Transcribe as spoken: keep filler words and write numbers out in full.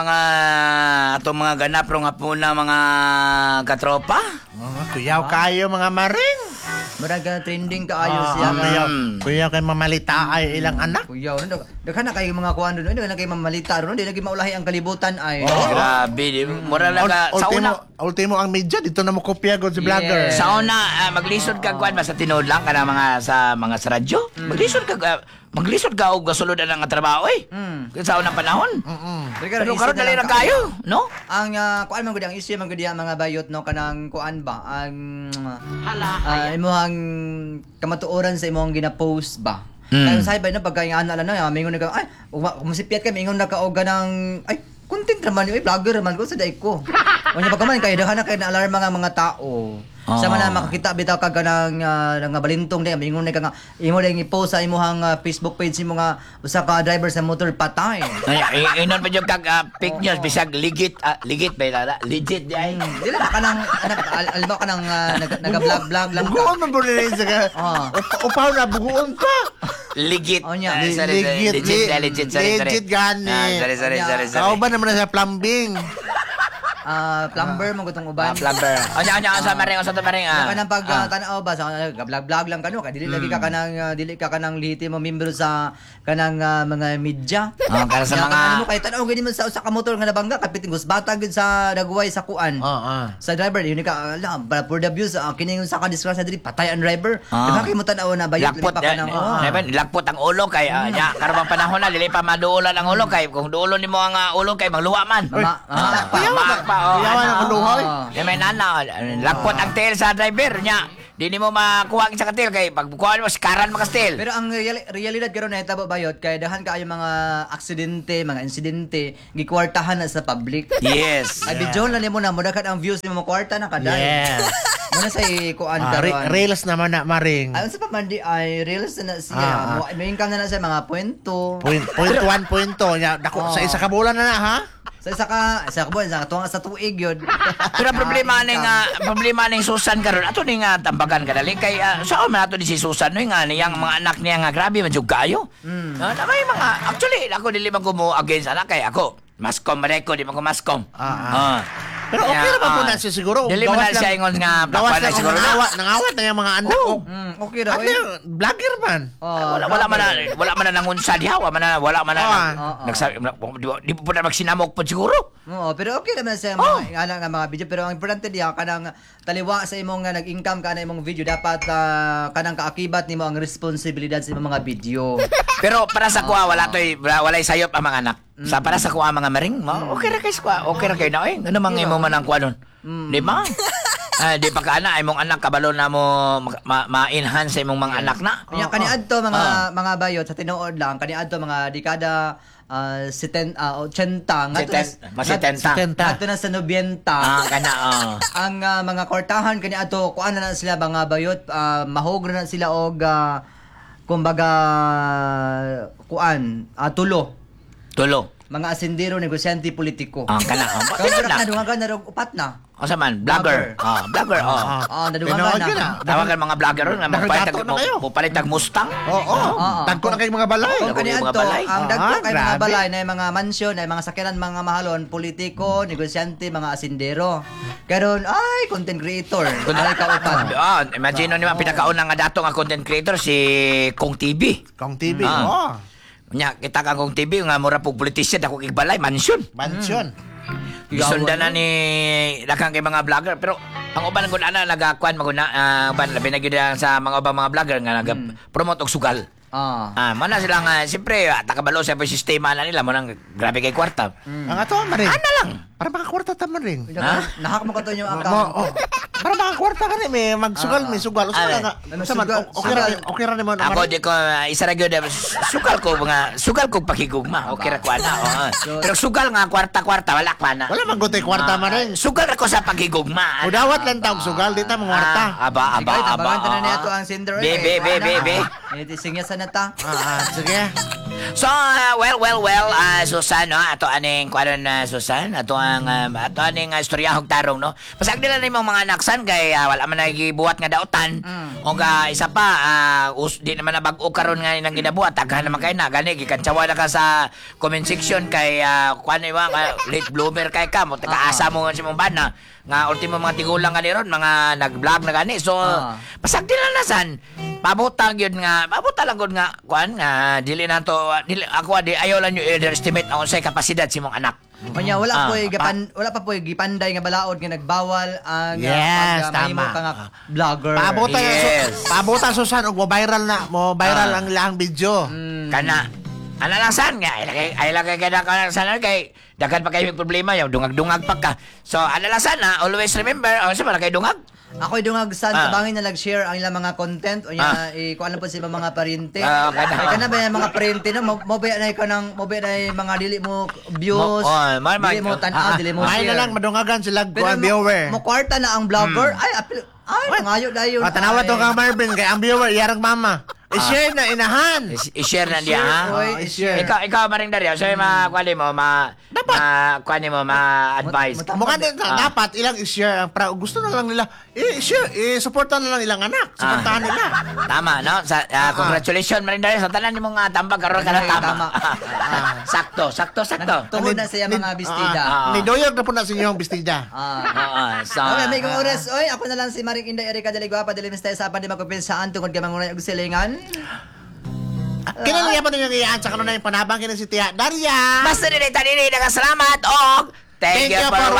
Mga atong mga ganap rong hapuna, mga katropa. Mga kuyaw kayo, mga maring. Murag ah, trending kaayo Ah, siya nga. kuyaw. Kuyaw kay mamalita ay ilang anak. Kuyaw, no, daghan na kayo mga kuan doon, daghan na kayo mamalita ron, di lagi maulahi ang kalibutan ay. Oh, grabe, di. Mura lang ka sa Ultimo, una. ultimo ang media dito na mo kopya gud si vlogger. Yes. Sa una, ah, maglisod ka kuan ba sa tinuod lang kana mga sa mga sa radyo. Maglisod ka ah, maglisod ka og gasulod ang nga trabaho eh. Mm. Sa unang panahon. Pero Pero karon dali ra kayo, no? Ang uh, kuan man gud, ang issue man gud ang mga bayot, no, kanang kuan ba ang uh, imong kamatuoran sa imong gina-post ba. Mm. Kaya sa ba no, pagka yung ana lang no, mingon na ka ay kumusipyat ka, mingon na ka og ganang ay content raman yun, ay vlogger raman ko sa day ko. Unya pagka man kay daghan na kay na alarma nga mga tao. Sa man na makakita bitaw ka ganang uh, nga balintong day, mingon na ka nga imo dayong i-post sa imong ah, Facebook page imo nga usa ka driver sa motor patay. Ay, i- inon pa jud kag ah, fake news bisag legit, ah, legit ba ila? Legit di ay. Hmm, dili ba kanang anak al- alam mo kanang uh, nag, naga-vlog-vlog lang ka. Buguon man po rin sa ka. Ah. Up- Upaw na buguon pa. Legit. Oh, nya. Ah, sorry, sorry. Legit, Legit, li- legit, sorry, sorry. legit gani. Ah, sorry, sorry, Nya. sorry, sorry. Kao ba naman na sa plumbing? Ah, plumber mo gutong uban. Ah, plumber. Onya, onya, unsa maring, unsa to maring, ah. Ah. Kanang pag Ah. ah, tanaw ba sa vlog-vlog lang kano kay dili lagi ka kanang ah, dili ka kanang lihitimo membro sa kanang ah, mga media. Ah, kana sa Nya, mga- kanang ano kay tanaw gani mo sa usa ka motor nga nabangga kapit gusbata gyud sa dagway sa kuan. Ah, ah. Sa driver yun ka ala para for the views ah, kini yung sa ka disgrasya dili patay ang driver. Ah. Di ba kay mo tanaw na bayot Lakpot, pa kanang eh, oh. eh, ba, lakpot ang ulo kay ah, nya karon bang panahon na dili pa maduolan ang ulo kay kung duolon nimo ang ah, ulo kay mangluwa man. Mama, Ah, ah, maak pa, oh. Kuyawan ang ulo, hoy. Ah. Di may nana, lakpot ang tail sa driver nya. Di nimo makuha ang isa ka tail kay pag kuha mo sikaran makastil. Pero ang real, realidad karon na hitabo bayot kay dahan kaayo mga aksidente, mga insidente gikwartahan na sa public. Yes. Ay video lang nimo na mo ang views nimo kwarta na kaday. Yes. Muna sa kuan Ah, re- karon. reels naman na maring. Ay unsa pa man di ay reels na na siya. Ah, ah. Mo may income na na siya mga kwento. Point, point one, point two. Nya, dako, Oh. sa isa ka bulan na na, ha? Sa isa ka sa ka buwan sa tuwang sa tuig yun. Pero ang problema Ah, ning income. ah, problema ning Susan karon ato ning ah, tambagan kadali kay uh, saan man ato ni si Susan no nga niyang mga anak niya nga grabe man jud kaayo. Mm. na may mga actually ako dili man ko mo against anak kay ako mascom man ko di man ko mascom. Ah, ah. Pero okay Kaya, naman po ah, na siya siguro. Dili man Gawas na lang- siya ingon nga Gawas plakwan na lang siguro na. nangawat, nangawat na yung mga anak. Oo. Oh. Mm, okay ra Ano oy. yung vlogger man? Oh, wala wala man na, wala man na nangunsa diha, wala man na wala man na Ah. Oo. nagsabi di, di po na magsinamok po siguro. Oo, pero okay naman sa Oh. mga oh. nga mga video, pero ang importante diha kanang taliwa sa imong nga nag-income ka na imong video dapat ah, kanang kaakibat nimo ang responsibilidad sa imong mga video. Pero para sa kuha wala toy walay sayop ang mga anak. Sa para sa kuha mga maring, mo, okay ra kay sa kuha, okay ra kay na oy. Ano mang imo man ang kuha nun? Di ba? Ah, di pa ka ana imong anak kabalo na mo ma- ma-enhance sa imong mga anak na. Kanya kaniadto mga Ah. mga bayot sa tinuod lang kaniadto mga dekada uh, seten, ah, eighty ngadto na Seten- mas setenta. Setenta. ngadto na sa ninety. Ah, kana oh. Ang ah, mga kwartahan kaniadto kuan na na sila mga bayot, uh, mahog na sila og ah, kumbaga kuan ah, tulo Tulo. mga asendero, negosyante, politiko. Ah, kana. Oh. Karon Tinuod na na. dungagan na rog upat na. Unsa man, vlogger. Ah, vlogger oh. Ah. Ah, nadungagan Tinuod na. yun, ah. Tawagan mga vlogger ron nga magpalit Nakagato na kayo. mo palit og Mustang. Oo, Oo. Dagko na kayong mga balay. Kung Dagko kani mga adto, balay. ang dagko Ah, kay mga grabe. balay na mga mansyon, na mga sakyanan, mga mahalon, politiko, negosyante, mga asendero. Karon ay content creator. Ay kaupan. Ah, imagine ni pinakauna nga dato nga content creator si Kong T V. Kong T V. Ah. Oh. Nya kita ka Kong T V nga mura pug politician dako kay balay mansion. Mansion. Gisundan na ni daghang kay mga vlogger pero ang uban gud ana nagakuan maguna uh, uban labi na gyud ang sa mga ubang mga vlogger nga naga-promote og sugal. Ah. Ah, mana sila nga siyempre ah, takabalo sa sistema na nila mo nang grabe kay kwarta. Ang ato, maring. Ana lang. Para makakwarta ta, maring. Ha? Nahak mo ka to yung Mo, account. oh. Para makakwarta ka ni, may magsugal, may sugal. Usa Ah. nga. May Usa man, sugal, okay ra, sugal. okay ra nimo na, Ako maring. di ko ah, isa ra gyud ah, sugal ko mga sugal ko pakigugma. Okay ra ko ana. Oo. Pero sugal nga kwarta-kwarta wala ko ana. Wala man gutay kwarta, Ah, maring. Sugal ra ko sa pakigugma. Udawat lang taong sugal, di ta mangwarta. Ah, aba, aba, Sige, aba. tabangan ta na ah. niya to ang sender. Be, be, be, be, be. Eh, singya sa na ta. Ah, ah, sige. So, uh, well, well, well, uh, Susan, no? Ato aning, kuano na, Susan? Ato ang, um, ato aning uh, istoryahog tarong, no? Pasag nila na imong mga anak, san, kay uh, wala man nagibuhat nga dautan. Mm. O ka, isa pa, uh, us, di naman na bag-o karon nga nang ginabuhat. Taghan naman kay na, gani, gikantsawa na ka sa comment section kay, uh, kuano yung mga, late bloomer kay ka, mo, taga-asa mo nga sa imong bana, nga ultimo mga tigulang nga ni ron, mga nag-vlog na gani. So, Ah. pasag nila na san, pabutang yun nga, pabutang lang gud nga, kuan nga, dili na to, dili, ako di, ayaw lang yung underestimate ang unsay kapasidad si mong anak. Unya wala Ah, po'y gipan wala pa po'y gipanday nga balaod nga nagbawal ang ah, Yes, pag, ah, mahimo tama. ka nga vlogger. Paabutan Yes. yes. Paabutan Susan og mo viral na, mo viral Ah. ang ilang video. Kana, ana lang san nga, ay lagay, ay lagay ka na ka san kay, daghan pa kayo may problema, yung dungag-dungag pa ka. So, ana lang san ha, always remember, oh, sa kay dungag? Ako'y dungag san Ah. tabangin na nag-share ang ilang mga content unya Ah. i kuan po sa ibang mga paryente. Ah, kana. Kay kana ba yung mga paryente no mo mo ba na ikaw ng mo ba na yung mga dili mo views, Mo- oh, ma- ma- dili mo tan-aw, dili mo May share. na lang madungagan sila Pero kuan mo, viewer. mo kwarta na ang vlogger. Ay apil ay mangayo dayon. Ah, tanawa ay. to ka Marvin kay ang viewer iyarang mama. I-share na inahan. I- I-share na niya, ha? Oy, Ah, i-share. Ikaw, ikaw, Maring Dario, so ma, kuan mo, ma, Dapat. ma, kuan mo, ma-advise. Mo- Mukha din Ah. dapat ilang i-share ang pra gusto na lang nila i-share i-suporta na lang ilang anak. Suportahan nila. Tama, no? Sa, ah, congratulations, Maring Dario. Sa tanan nimong uh, tambag, karon ka na Ay, tama. tama. Sakto, sakto, sakto. Tungod na siya mga bestida. Ah. Ni doyog na po na sa inyong bestida. Ah. Oo, so, Okay, may kong oras. Oy, ako na lang si Maring Inday Erika Deligua, padili mistay sa pan di makupinsaan tungod kay mangunay og silingan. Kinaliya pa ninyo iyaan sa kanunay panabang kini si Tia Daria. Basta dinay tanini, salamat og thank, you for